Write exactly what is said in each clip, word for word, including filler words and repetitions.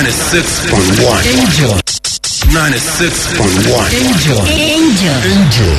Ninety-six point one. Angel. Ninety-six point one. Angel. Angel. Angel.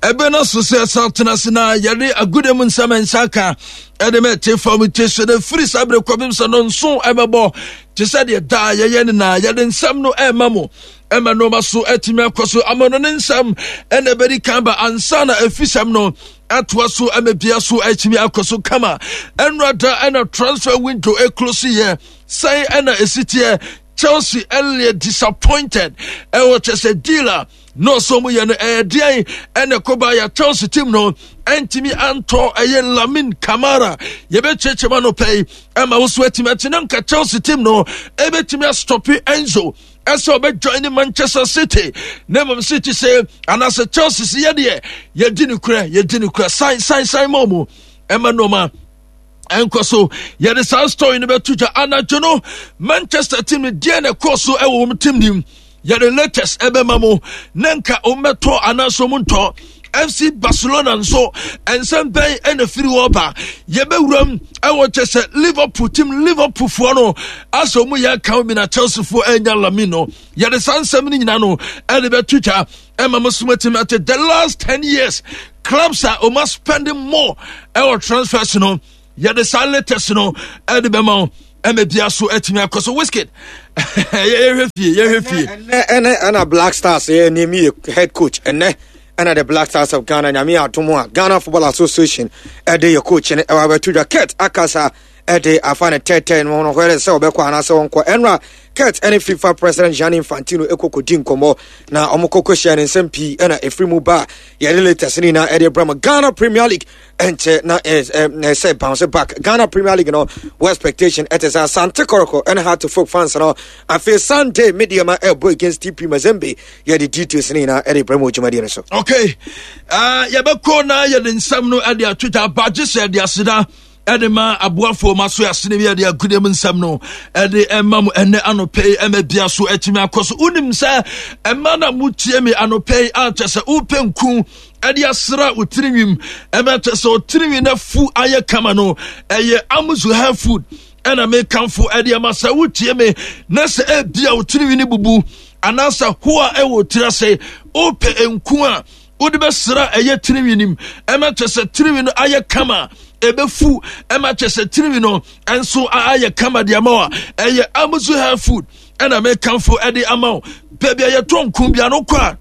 Ɛbɛ no so sɛ ɛsa tena ase na yɛde agude mu nsɛm nsa ka ɛde ma ɛte fam te so no firi saa berɛ kɔpem sɛ no nso ɛbɛbɔ te sɛ deɛ daa yɛyɛ no na yɛde nsɛm no ɛma mo ɛma nneɛma so atumi akɔ so ama no ne nsɛm ɛna ɛbɛdi kan ba ansa na ɛfisɛm no atoa so ɛma bia so atumi akɔ so kama. Ɛnora da ɛna transfer window ɛclose yɛ sɛn ɛna ɛsi teɛ. Chelsea ɛlɛ disappointed ɛwɔ kyɛ sɛ deal a na ɔsɔ mu yɛ no ɛyɛ deɛn ɛna ɛkɔba yɛ Chelsea team no ɛntumi antɔ ɛyɛ Lamin Kamara. Yɛbɛkyerɛkyerɛ ma no pɛ yi ɛma wo so atumi akyi na nka Chelsea team no ɛbɛtumi astop Enzo ɛsɛ ɔbɛjoin ne Manchester City, na mmom City sɛ anaasɛ Chelsea sɛ yɛdeɛ yɛdi ne korɛ, yɛdi ne korɛ san san san ma mu ɛma nneɛma ɛnkɔ so. Yɛde saa story no bɛto dwa anadwo no. Manchester team no deɛ na ɛkɔɔ so ɛwɔ wɔn team nim, yɛde latest ɛbɛma mo na nka wɔn bɛtɔ anaasɛ wɔn ntɔ. F C Barcelona nso nsɛm bɛn ɛna firi hɔ ba? Yɛbɛwuram ɛwɔ kyɛ sɛ Liverpool team, Liverpool foɔ no asɛ wɔn yɛ aka bi na Chelsea foɔ ɛnya Lamin no. Yɛde saa nsɛm no nyinaa no ɛde bɛto dwa ɛma mo so atumi ate the last ten years clubs a wɔn spending more ɛwɔ transfers no. Yɛde saa latest no ɛde bɛma wo ɛma bia so atumi akɔ so. Wizkid, yɛhwɛ fie, yɛhwɛ fie. Ɛnɛ ɛnɛ ɛna Black Stars yɛ name yɛ head coach. Ɛnɛ ɛna the Black Stars of Ghana, Nyame adom a, Ghana Football Association ɛde yɛ coach no ɛwɔ abɛto dwa. Kurt akasa ɛde afa ne tɛtɛ no no hɔrɛ sɛ ɔbɛkɔ anaasɛ ɔnkɔ. Ɛnora Kurt ɛne FIFA President Gianni Infantino ɛkɔkɔdi nkɔmmɔ na ɔmo kɔkɔ hyia ne nsɛm pii ɛna ɛfiri mu ba. Yɛde latest no nyinaa ɛde brɛ mo. Ghana Premier League ɛnkyɛ na ɛsɛ bounce back. Ghana Premier League no wɔ expectation ɛte sɛ Asante Kɔtɔkɔ ɛne Hearts of Oak fans no. Afei Sunday Medeama ɛbɔ against T P Mazembe. Yɛde details no nyinaa ɛde brɛ mu dwumadie no so. Okay, uh, yɛbɛkɔ na yɛde nsɛm no ɛde ato dwa. Abagye sɛ ɛde aseda ɛde ma aboafoɔ ma so asene bi ɛde agudeɛ mu nsɛm no ɛde ɛma mu ɛnɛ anɔpɛ yi ɛma bia so atumi akɔ so. Wonim sɛ ɛma na motie me anɔpɛ yi akyɛ sɛ wopɛ nku ɛde asra wo tirinwim ɛma kyɛ sɛ wo tirinwi no afu ayɛ kama no, ɛyɛ Amuzu Hair Food ɛna mekamfo ɛde ama sɛ wotie me na sɛ ebia wo tirinwi no bubu anaasɛ hoa ɛwɔ tiri ase, wopɛ nku a wode bɛsra ɛyɛ tirinwi nim ɛma kyɛ sɛ tirinwi no ayɛ kama, ɛbɛfu ɛma kyɛ sɛ tirinwi no ɛnso ayɛ kama de ama wo a, ɛyɛ Amuzu Hair Food ɛna mekamfo ɛde ama wo. Baabi a yɛtɔ nku bia no kɔ a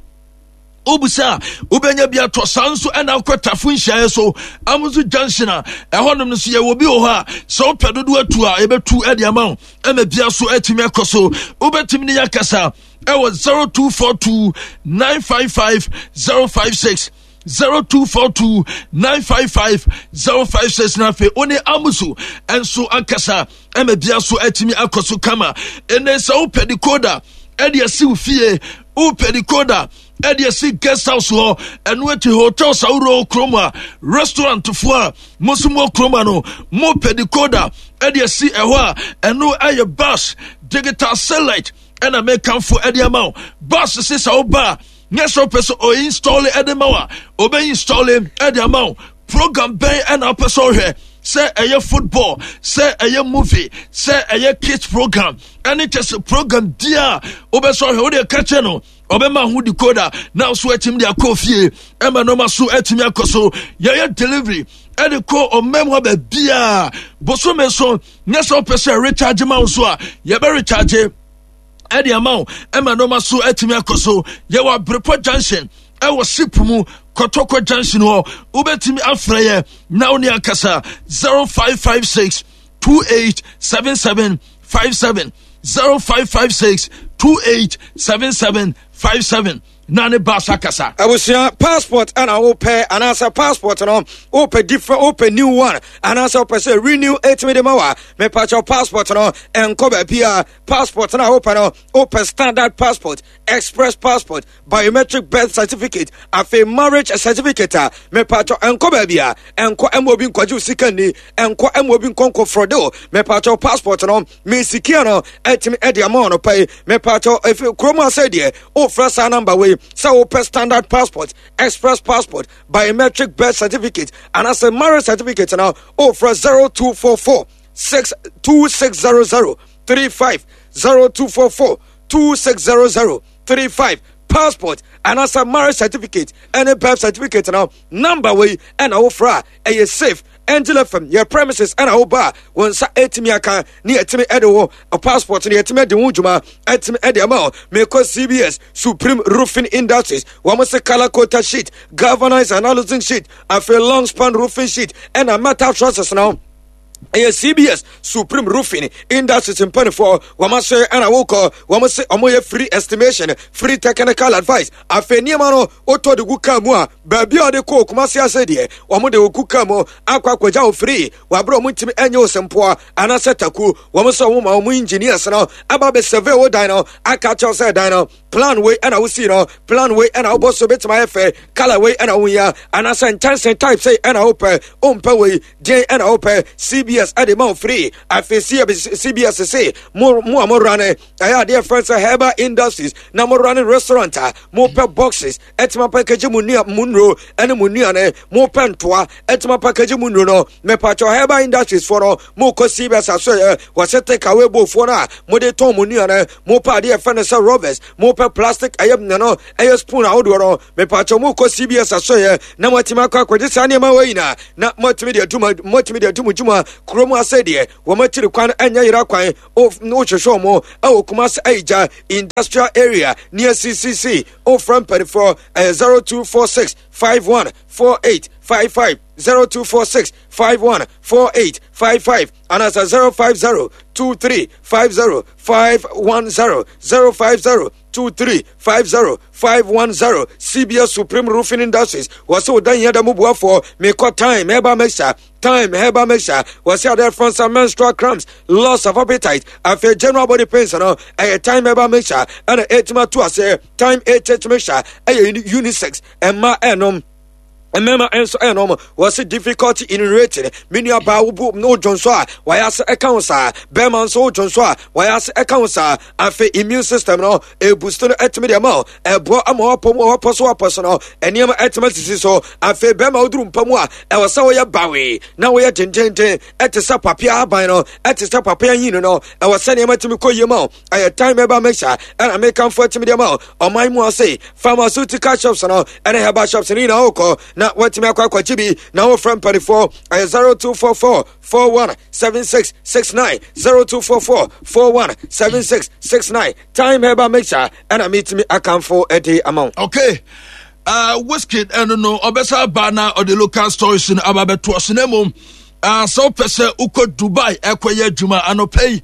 wobusa a wobɛnya bi atɔ. Saa nso ɛna akɔ Tafo nhyiaeɛ so Amuzu Junction a ɛhɔnom no so yɛwɔ bi wɔ hɔ a sɛ wopɛ dodo atu a yɛbɛtu ɛde ama wo ɛma bia so atumi akɔ so. Wobɛtumi ne yɛakasa ɛwɔ zero two four two nine five five zero five six, zero two four two nine five five zero five six, na afei wo ne Amuzu ɛnso akasa ɛma bia so atumi akɔ so kama. Ɛnɛ sɛ wopɛ decoder ɛde asi wo fie, wopɛ decoder ɛde asi guest house hɔ, ɛno akyi hotels ahorow kurom a restaurant foɔ a mo nso mo kurom a no mopɛ decoder ɛde asi ɛhɔ a, ɛno ɛyɛ Bus Digital Satellite ɛna mekamfo ɛde ama wo. Bus se sɛ woba a nyɛ sɛ wopɛ sɛ ɔinstall ɛde ma wo a, ɔbɛ install ɛde ama wo. Program bɛn ɛna wopɛ sɛ ɔhwɛ, sɛ ɛyɛ football, sɛ ɛyɛ movie, sɛ ɛyɛ kids program, ɛne kyɛ sɛ program bia wobɛ sɛ ɔhwɛ, wode ka kyɛ no, ɔbɛma ho decoder na so atumi de akɔ fie ɛma nɔɔma so atumi akɔ so. Yɛyɛ delivery ɛde kɔ ɔmam hɔ baabiaa. Bosome so nyɛ sɛ wopɛ sɛ recharge ma wo so a, yɛbɛ recharge ɛde ama wo ɛma nɔɔma so atumi akɔ so. Yɛwɔ Abrepɔ Junction ɛwɔ ship mu Kɔtɔkɔ Junction hɔ. Wobɛtumi afrɛ yɛ na wo ne akasa zero five five six two eight seven seven five seven, zero five five six two eight seven seven five seven, na ne ba so akasa. Abusua, passport ɛna wopɛ anaasɛ passport no wopɛ different, wopɛ new one anaasɛ wopɛ sɛ renew ɛtumi de ma wa, mepakyɛw, passport no ɛnkɔ baabi a passport no a wopɛ no, wopɛ standard passport, express passport, biometric birth certificate, afei marriage certificate a, mepakyɛw, ɛnkɔ baabi a ɛnkɔ ɛma obi nkɔgye wo sika ni, ɛnkɔ ɛma obi nkɔnkɔ frɔde o. Mepakyɛw, passport no mesikia no ɛtumi ɛde ama ɔno pɛ yi. Mepakyɛw, efi kurom asɛ deɛ wofrɛ saa number wei. Sɛ wopɛ standard passport, express passport, biometric birth certificate anaasɛ marriage certificate na wofrɛ zero two four four six two six zero zero three five, zero two four four two six zero zero three five. Passport anaasɛ marriage certificate ɛne birth certificate no, number wei ɛna wofrɛ a ɛyɛ safe. Angel F M yɛ premises ɛna woba a wɔn nsa ɛtumi aka ne yɛtumi ɛde wo passport no, yɛtumi ɛde ho dwuma ɛtumi ɛde ama wo. Mekɔ C B S Supreme Roofing Industries. Wɔn se color coated sheet, galvanized and aluzinc sheet, afei long span roofing sheet ɛna metal trusses no, ɛyɛ C B S Supreme Roofing Industries mpanifoɔ wɔn ahyɛ ɛna wokɔ. Wɔn se wɔn yɛ free estimation, free technical advice. Afei nneɛma no wotɔ de gu kaa mu a, baabi a ɔde kɔ Kumase ase deɛ, wɔn de gu kaa mu akɔ akɔgya wo free. Wabere wɔn ntumi ɛnyɛ wo sɛmpoa anaasɛ taku. Wɔn sɛ wɔn ma wɔn engineers no aba bɛ survey wo dan no, aka kyerɛw sɛ dan no plan wei ɛna wosi no, plan wei ɛna wobɔ so bɛtumi ayɛ fɛ, colour wei ɛna wohia, anaasɛ nkyɛnse type sei ɛna wopɛ, wompɛ wei deɛn ɛna wopɛ. C B S ɛde ma wo free. Afei C B S se mo mo a mo run ɛyɛ adeɛ fɛn sɛ herbal industries na mo run restaurant a, mopɛ boxes ɛtumi package mu nua mu nnuro ɛne mu nnuane, mopɛ ntoa ɛtumi package mu nnuro no, mepatwɛ herbal industries foɔ no, mokɔ C B S aso yɛ wɔsɛ take away bofoɔ no a mode tɔn mu nnuane, mopɛ adeɛ fɛn no sɛ rubbers, mopɛ plastic ɛyɛ no ɛyɛ spoon ahodoɔ no, mepatwɛ mokɔ C B S aso yɛ na moatumi akɔ akɔgye saa nneɛma wɔ nyinaa na moatumi de adwuma moatumi de adu mo dwuma kurom ase deɛ wɔn akyiri kwan ɛnyɛ yera kwan. Wohwehwɛ wɔn ɛwɔ Kumase Ayigya Industrial Area near C C C. Wofrɛ mpanifoɔ ɛyɛ zero two four six five one four eight five five, zero two four six five one four eight five five, anaasɛ zero five zero two three five zero five one zero, zero five zero two three five zero five one zero. C B S Supreme Roofing Industries wɔsɛ wo dan yɛ da mu boafoɔ. Mekɔ Time Herbal Mixture. Time Herbal Mixture wɔsɛ adeɛ frɔnsa menstrual cramps, loss of appetite, afei general body pains no, ɛyɛ Time Herbal Mixture ɛna ɛtumi ato aseɛ. Time H H Mixture ɛyɛ unisex, ɛma ɛnom, mmarima nso ɛnom. Wɔsi difficulty in urinating, me nua baa, wo wodwo nso a wɔayɛ ase ɛka ho saa, bɛrima nso wodwo nso a wɔayɛ ase ɛka ho saa. Afei immune system no e boost no, ɛtumi deɛ ma ɛboa ama wapɔ mu a wapɔ so wapɔ so no, nneɛma ɛtumi asisi so. Afei bɛrima woduru mpa mu a, ɛwɔ sɛ woyɛ bawee na woyɛ dendenden, ɛte sɛ papea aban no, ɛte sɛ papea hin no, ɛwɔ sɛ nneɛma tumi kɔ yie ma wo. Ɛyɛ Time Herbal Mixture ɛna mekamfo atumi deɛ ma ɔman mu ase pharmaceutical shops no ɛne herbal shops no nyinaa wokɔ na watumi akɔ akɔgye bi. Na wofrɛ mpanifoɔ ɛyɛ zero two four four four one seven six six nine, zero two four four four one seven six six nine. Time Herbal Mixture ɛna metumi akamfo ɛde ama wo. Okay, uh, Wizkid ɛno no ɔbɛsa aba na ɔde local stories no aba bɛtoa so. Na mmom uh, sɛ wopɛ sɛ wokɔ Dubai ɛkɔyɛ adwuma anɔpɛ yi,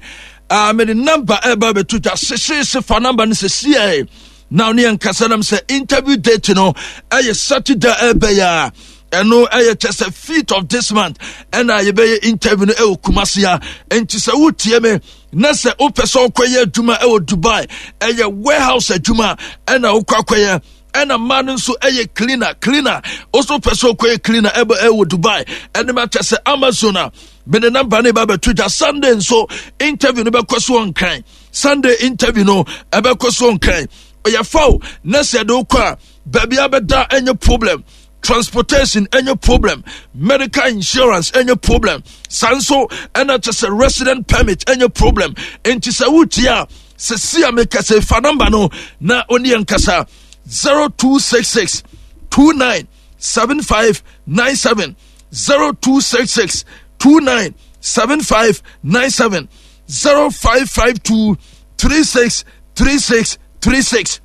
uh, mede number ɛba bɛto dwa hyehyehye. Fa number no sɛsiɛ na ne yɛnkasa nam sɛ interview date no ɛyɛ Saturday ɛbɛyɛ a ɛno ɛyɛ kyɛ sɛ fifth of this month ɛna yɛbɛyɛ interview no ɛwɔ Kumase a. Nti sɛ wotie me na sɛ wopɛ sɛ wokɔyɛ adwuma ɛwɔ Dubai, ɛyɛ warehouse adwuma ɛna wokɔ akɔyɛ, ɛna mmaa no nso ɛyɛ cleaner cleaner Ɔso pɛ sɛ ɔkɔyɛ cleaner ɛbɛ ɛwɔ Dubai ɛne ma kyɛ sɛ Amazon a, mede number ne ba bɛto dwa. Sunday nso interview no bɛkɔ so ɔnkran. Sunday interview no ɛbɛkɔ so ɔnkran. Ɔyɛ faw na sɛ ɛde wokɔ a, baabi abɛda ɛnyɛ problem, transportation ɛnyɛ problem, medical insurance ɛnyɛ problem, saa nso ɛna kyɛ sɛ resident permit ɛnyɛ problem. Nti sɛ wotie a, sɛsi a mekasɛ fa number no na ɔne yɛn kasa: zero two six six two nine seven five nine seven, zero two six six two nine seven five nine seven, zero five five two three six three six three six.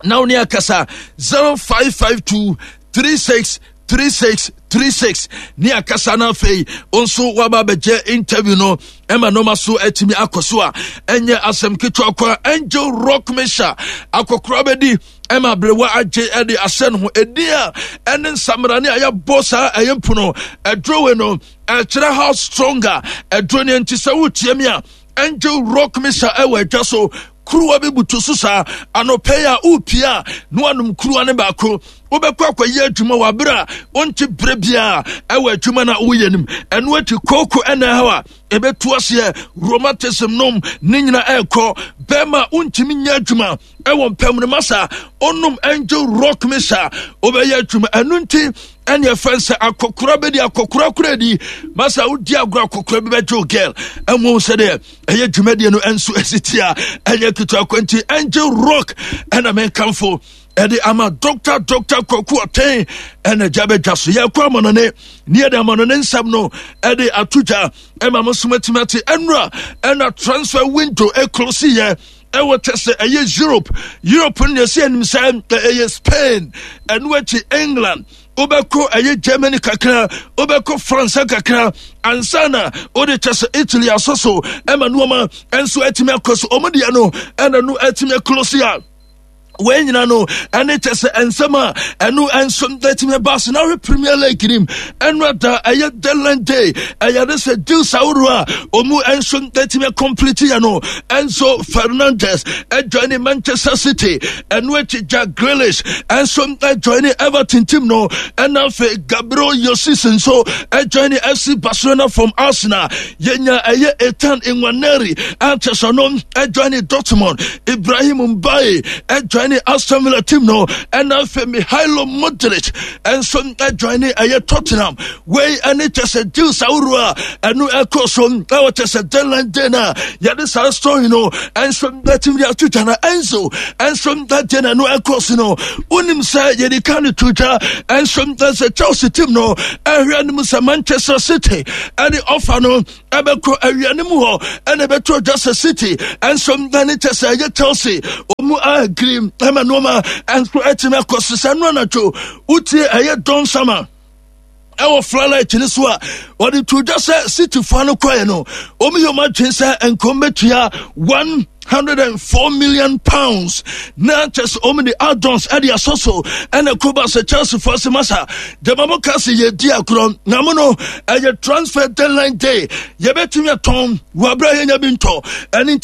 Na wo ne akasa zero five five two three six three six three six ne akasa. No afei nso waba abɛgye interview no ɛma nɔɔma so atumi akɔ so a ɛnyɛ asɛm ketewa kora. Angel Rock Mixture akɔkora bɛdi ɛma aberewa agye ɛde ahyɛ ne ho ɛdin a ɛne nsamrane a yɛbɔ saa ɛyɛ mpono ɛduro no ɛkyerɛ how stronger ɛduro no. Nti sɛ wotie mi a, Angel Rock Mixture ɛwɔ adwa so. Kuruwa bi butu so saa anɔpɛ yi a wopie a na wanom kuruwa ne baako. Wobɛkɔ akɔyɛ adwuma wɔ abere a wonte berɛ biara ɛwɔ adwuma no a woyɛ no mu. Ɛno akyi kooko ɛna ɛhaw a ɛbɛtu aseɛ, rheumatism nom ne nyina ɛrekɔ. Bɛrima wontumi nyɛ adwuma ɛwɔ mpam no, masa onom Angel Rock Misa, wobɛyɛ adwuma. Ɛno nti ɛne ɛfɛn sɛ akɔkora bɛdi akɔkora kora di, masa wodi agorɔ, akɔkora bi bɛgye wo girl ɛmu sɛdeɛ ɛyɛ dwumadie no ɛnso ɛsi tia ɛnyɛ ketewa kwanti. Angel Rock ɛna menkamfo ɛde ama Doctor Doctor Kwaku Ɔtɛn ɛna gya bɛdwa so. Yɛkɔ amanɔne ne yɛde amanɔne nsɛm no ɛde ato dwa ɛma mo nso matumi ate. Ɛnora ɛna transfer window ɛclose yɛ ɛwɔ kyɛ sɛ ɛyɛ Europe. Europe no yɛsɛ anim sɛ ɛyɛ Spain, ɛno akyi England, wobɛkɔ ɛyɛ Germany kakra, wobɛkɔ France kakra ansa na wode kyɛ sɛ Italy asɔ so ɛma nneɛma ɛnso atumi akɔ so. Ɔmo deɛ no ɛna no atumi aclose a wei nyina no ɛne kyɛ sɛ nsɛm a ɛno nso atumi ba so. Na wohwɛ Premier League nim, ɛno ada ɛyɛ deadline day, ɛyɛ de sɛ deals ahoroɔ a ɔmu nso atumi complete yɛ no. Enzo Fernandez ɛjoin Manchester City, ɛno akyi Jack Grealish ɛnso ɛjoin Everton team no, ɛna afei Gabriel Jesus nso ɛjoin F C Barcelona from Arsenal. Yɛnya ɛyɛ Ethan Nwaneri akyɛ sɛ no ɛjoin Dortmund, Ibrahim Mbaye ɛjoin Aston Villa team no, ɛna afei Mihailo Mudrik ɛnso ɛjoin ɛyɛ Tottenham. Wei ɛne kyɛ sɛ deals ahoroɔ a ɛno ɛkɔ so ɛwɔ kyɛ sɛ deadline day no a yɛde saa story no ɛnso bɛtumi de ato dwa. Na Enzo ɛnso ɛdeɛ na ɛno ɛkɔ so no, wonim sɛ yɛde ka no to dwa ɛnso sɛ Chelsea team no ɛhwɛ anim sɛ Manchester City ɛne offer no ɛbɛkɔ awia no mu hɔ, ɛna ɛbɛto dwa sɛ City ɛnso ɛne kyɛ sɛ ɛyɛ Chelsea ɔmu agree ɛma nneɛma ɛnso ɛtumi akɔ so. Sɛ no anadwo wotie ɛyɛ Don Sama ɛwɔ flalight no so a, wɔde to dwa sɛ City fa no kɔɛ no, wɔn yɛ wɔn adwene sɛ nkɔm bɛtua one hundred and four million pounds na kyɛ sɛ wɔn de add-ons ɛde asɔ so. Ɛna koba sɛ Chelsea fo ase masa gyama mo ka sɛ yɛdi agorɔ na mo no ɛyɛ transfer deadline day, yɛbɛtumi atɔn wɔ abere a yɛnya bi ntɔ ɛne nti.